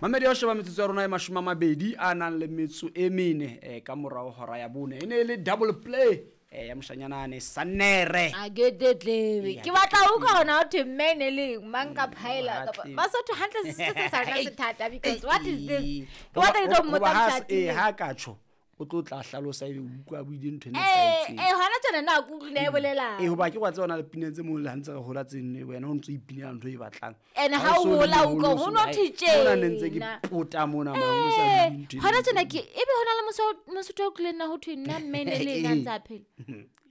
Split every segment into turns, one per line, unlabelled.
Mamedi ya ho sheba metsotso ya rona e 20 a nang le metso e mene ka morao hora ya bone. E ne e le double play ya moshanyana Sanere.
A ke tetlebe. Ke batla ho utlwa hona ho thwe mme ne le mang ka phaela kapa Basotho hantle se sa rona se thata because what is this? Ke batla ke tlo mmotsa
mosadi. Ha ka tjho o tlo tla hlalosa ebe o utlwa buile ntho e nepahetseng.
Hona tjena na ke utlwile e bolelang.
Hoba ke wa tseba na le pineng tse mong le ha ntse re hola tse nne wena o ntso ipinela ntho e batlang.
Ene ha o hola o utlwa ho no thwe tjena.
Mona ne ntse ke pota mona ma ho sa bue ntho.
Hona tjena ke ebe hona le mosotho o tlileng na ho thwe nna mme ne le ena ntse a phela.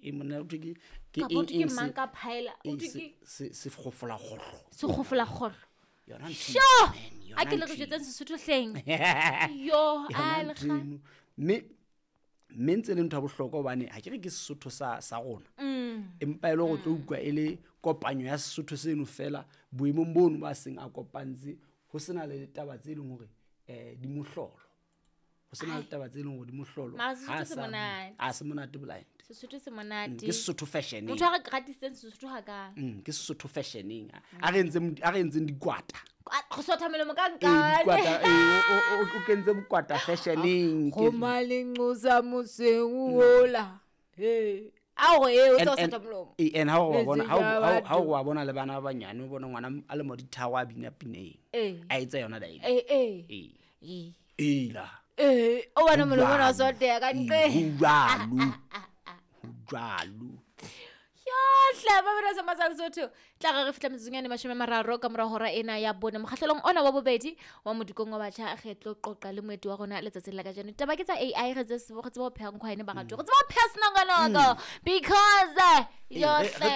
E monna o thwe ke
ke eng ke mang ka phaela o thwe ke
se kgofola kgohlo.
Se kgofola kgohlo.
Yona ntho.
Sho! A ke le re jwetseng Sesotho hleng. Yo, a le kga.
Mme ntse le ntho ya bohlokwa hobane ha ke re ke Sesotho sa rona. Empa e le hore o tlo utlwa e le kopanyo ya Sesotho seno fela boemong bono ba seng a kopantse ho sena le taba tse leng hore di mohlolo. Ho sena le taba tse leng hore di mohlolo.
Mara Sesotho se monate.
A se monate blind.
Sesotho se monate.
Ke Sesotho fashioneng.
Motho a re gratiseng Sesotho ha ka.
Ke Sesotho fashioneng. A re entseng dikwata.
Go sotha molomo ka nkane.
Dikwata, o kentse bokwata fashioneng.
Go malenqosa moseng ola. A go o tlo sotha molomo.
And ha o bona ha o bona le bana ba banyane o bona ngwana a le mo ditharo a bina pineng. A etsa yona dae. Ela.
O bona molomo o soteya ka ntle.
Ho jwalo.
Yohle ba bana sa masal Sotho tla re fihla metsotsong ya 30 ka mora hora ena ya bone mokgahlelong ona wa bobedi wa modikong wa batjha re tlo qoqa le moeti wa rona letsatsing la kajeno. Taba ke tsa AI re tseba ho pheha nkhwaene ba ratwe re tseba ho pheha senongonoko because yohle.